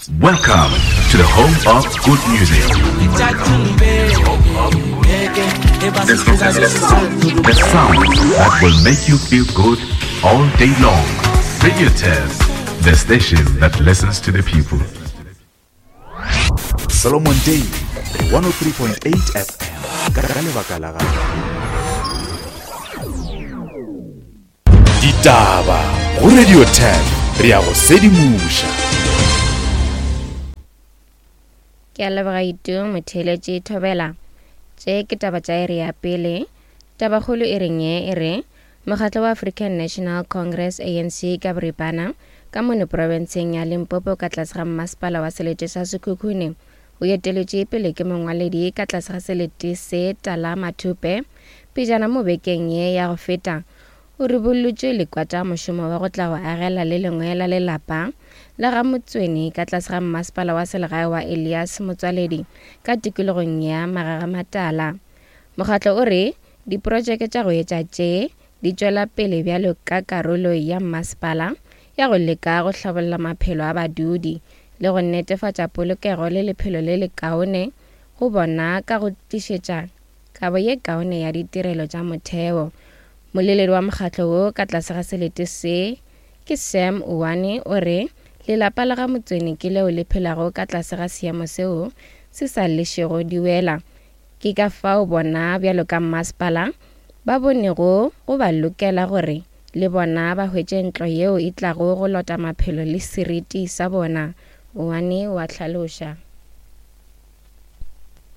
Welcome to the home of good music. The sound that will make you feel good all day long. Radio Test, the station that listens to the people. Solomon Daily 103.8 FM ka lebaka la gago. Ditaba go Radio 10 re ya go sedimoša. Ke a leboga Itu motheeletši Thobela. Tše ke taba tša iri ya pele. Tabakgolo e reng ye e re Mokgatlo wa African National Congress, ANC, ka boripana, ka mono profenseng ya Limpopo ka tlase ga mmasepala wa selete sa Sekhukhune o eteletše pele ke mongwaledi ka tlase ga selete se Tala Mathupe pejana mo bekeng ye ya go feta o ribollotše lekwata mošomo wa go tla go agela le lengwe la lelapa la ga Motsweni ka tlase ga mmasepala wa selegae wa Elias Motswaledi ka tikologong ya Magagamatala. Mokgatlo o re diprotšeke tša go etša tše di tšwela pele bjalo ka karolo ya mmasepala ya go leka go hlabolla maphelo a badudi le go netefatša polokego le lephelo le lekaone go bona ka go tlišetša kabo ye kaone ya ditirelo tša motheo. Moleledi wa mokgatlo wo ka tlase ga selete se ke Sam Uwane o re lelapa la ga Motsweni ke leo le phelago ka tlase ga seemo seo se sa lešego diwela. Ke ka fao bona bjalo ka mmasepala ba bonego go ba lokela gore le bona ba hwetše ntlo yeo e tlago go lota maphelo le seriti sa bona, Oane o a hlaloša.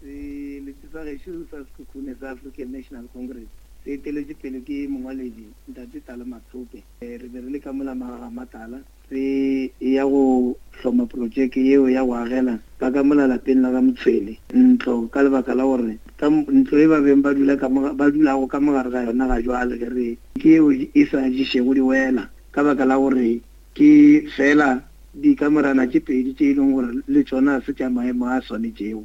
Selete sa gešo sa Sekhukhune sa African National Congress se eteletšwe pele ke mongwaledi Ntate Tala Mathope. Re be re le ka mola Magagamatala Re ya go hloma protšeke yeo ya go agela ba ka mola lapeng la ga Motshwene ntlo ka lebaka la gore ka ntlo e ba beng ba dula ka mo ba dulago ka mo gare ga yona ga jwale ge re ke yeo e sa ješego diwela ka baka la gore ke feela dikamorana tše pedi tše e leng gore le tšona ga se tša maemo a swanetšego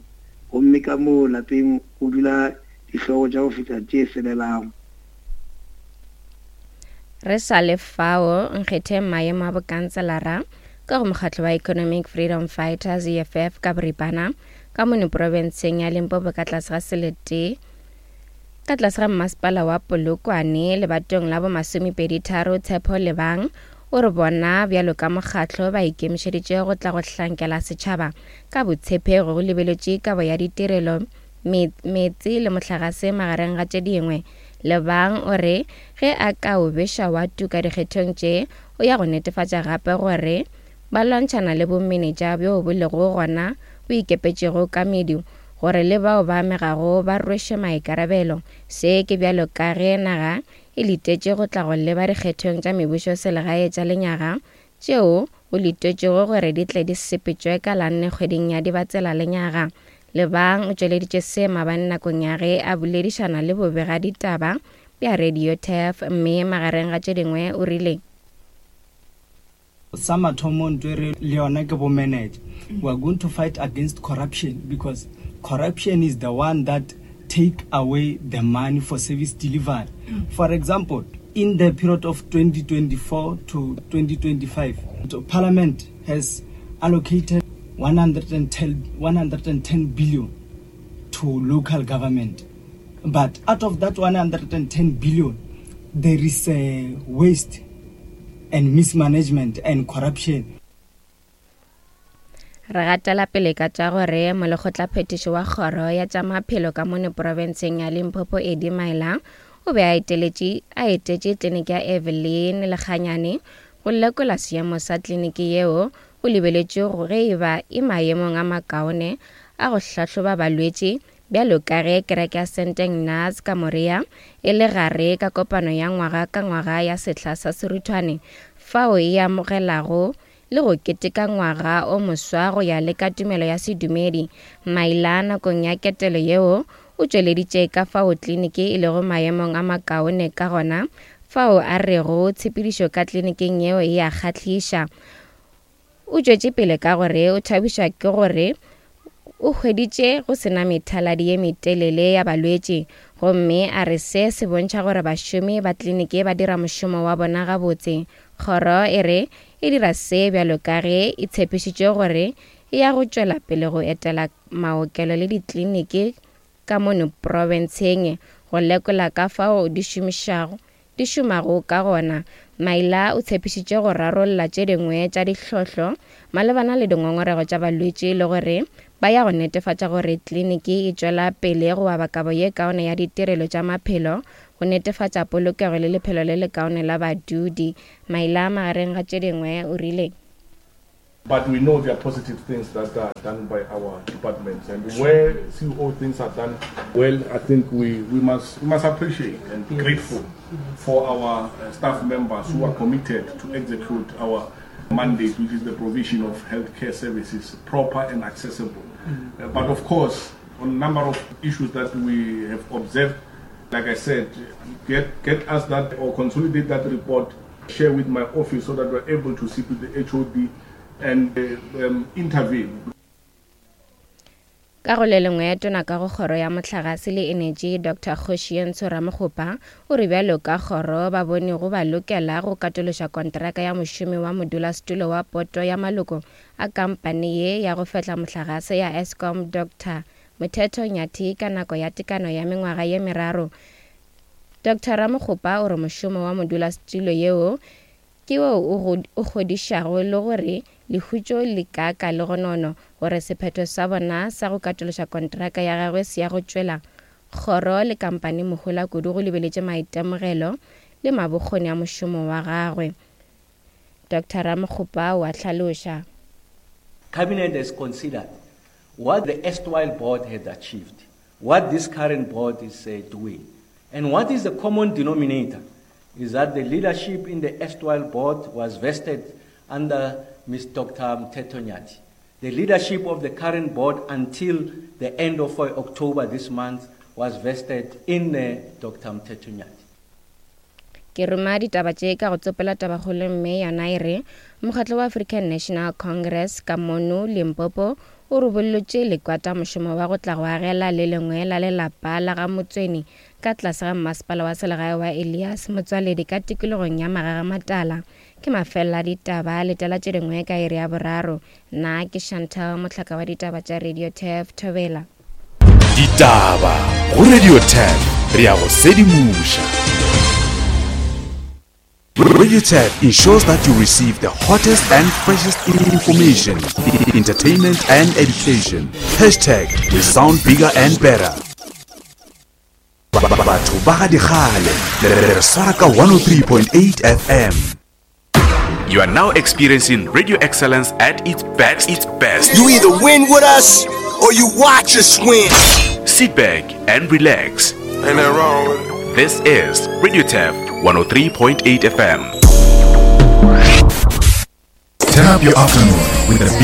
gomme ka moo lapeng go dula dihlogo tša go feta tše selelago. Re sa le fao, nkgetheng maemo a bokanselara ka go mokgatlo wa Economic Freedom Fighters, EFF, ka boripana ka mono profenseng ya Limpopo ka tlase ga selete ka tlase ga mmasepala wa Polokwane lebatong la bomasomepeditharo Tshepo Lebang o re bona bjalo ka mokgatlo ba ikemišeditše go tla go hlankela setšhaba ka botshepegi go lebeletše kabo ya ditirelo meetse le mohlagase magareng ga tše dingwe Lebang o re ge a ka o beša wa tuka dikgethong tše, o ya go netefatša gape gore ba lwantšhana le bomenetša bjo bo lego gona bo ikepetšego ka medu gore le bao ba amegago ba rwešwe maikarabelo. Se ke bjalo ka ge naga e letetše go tla go leba dikgethong tša mebušoselegae tša lenyaga tšeo go letetšwego gore di tle di sepetšwe ka la nne kgweding ya Dibatsela lenyaga. Lebang o tšweleditše se maabane nakong ya ge a boledišana le bobegaditaba bja Radio Turf mme magareng ga tše dingwe o rile. Sa mathomo ntwe re le yona ke bo manager. We are going to fight against corruption because corruption is the one that take away the money for service delivery. For example, in the period of 2024 to 2025, Parliament has allocated 110, 110 billion to local government. But out of that 110 billion, there is a waste and mismanagement and corruption. Re gatela pele ka tša gore molekgotlaphethiši wa kgoro ya tša maphelo ka mono profenseng ya Limpopo Eddie Maila o be a eteletše a etetše tleliniki ya Evelyn Lekganyane go lekola seemo sa tleliniki yeo go lebeletšwe go ge e ba e maemong a makaone a go hlahloba balwetši bjalo ka ge kereke ya St Ignaz ka Moria e le gare ka kopano ya ngwaga ka ngwaga ya sehla sa seruthwane fao e amogelago le go keteka ngwaga o moswa go ya le ka tumelo ya sedumedi. Maila nakong ya ketelo yeo o tšweleditše ka fao kliniki e lego maemong a makaone ka gona, fao a rego tshepedišo ka kliniking yeo e a kgahliša. O tšwetše pele ka gore o thabišwa ke gore o hweditše go se na methaladi ye metelele ya balwetši gomme a re se se bontšha gore bašomi ba kliniki ba dira mošomo wa bona gabotse. Kgoro e re e dira se bjalo ka ge e tshepišitše gore e ya go tšwela pele go etela maokelo le dikliniki ka mono profenseng go lekola ka fao di šomišago di šomago ka gona. Maila o tshepišitše go rarolla tše dingwe tša ditlhohlo malebana le dingongorego tša balwetši le gore ba ya go netefatša gore kliniki e tšwela pele go aba kabo ye kaone ya ditirelo tša maphelo go netefatša polokego le lephelo le lekaone la badudi. Maila magareng ga tše dingwe o rile. But we know there are positive things that are done by our departments. And where CEO things are done well, I think we, we, must, we must appreciate and be grateful for our uh, staff members who are committed to execute our mandate, which is the provision of healthcare services, proper and accessible. Mm. Uh, but of course, on a number of issues that we have observed, like I said, get, get us that or consolidate that report, share with my office so that we're able to sit with the HOD and uh, um, intervene. Ka go le lengwe, tona ka go kgoro ya mohlagase le enetši Doctor Kgošientsho Ramokgopa o re bjalo ka kgoro ba bone go ba lokela go katološa kontraka ya mošomi wa modulasetulo wa poto ya maloko a kampane ye ya go fehla mohlagase ya Eskom Doctor Mothetho Nyathi ka nako ya tekano ya mengwaga ye meraro. Doctor Ramokgopa o re mošomo wa modulasetulo yeo Ke wo o o kgodišago le gore lehutšo le kaaka legonono gore sephetho sa bona sa go katološa kontraka ya gagwe se ya go tšwela kgoro le kampani mohola kudu go lebeletše maitemogelo le mabokgoni a mošomo wa gagwe. Doctor Ramokgopa o a hlaloša. Cabinet has considered what the erstwhile board had achieved, what this current board is uh, doing, and what is the common denominator is that the leadership in the erstwhile board was vested under Ms. Dr. Mteto Nyati. The leadership of the current board until the end of uh, October this month was vested in uh, Dr. Mteto Nyati. Ke ruma ditaba tše ka go tsopela tabakgolo mme yona e re mokgatlo wa African National Congress ka mono Limpopo o rubollotše lekwata mošomo wa go tla go agela le lengwe la lelapa la ga Motsweni ka tlase ga mmasepala wa selegae wa Elias Motswaledi ka tikologong ya Magagamatala. Ke mafelelo a ditaba, letela tše dingwe ka iri ya boraro. Nna ke Chantal, mohlaka wa ditaba tša Radio Turf, Thobela. Ditaba go Radio Turf, re ya go sedimoša. Radio Turf ensures that you receive the hottest and freshest information, entertainment and education. Hashtag we sound bigger and better. Batho ba ga dikgale re swara ka 103.8 FM. You are now experiencing radio excellence at its best. Its best. You either win with us or you watch us win. Sit back and relax. Ain't that wrong with it? This is Radio Tef 103.8 FM. Turn up your afternoon with the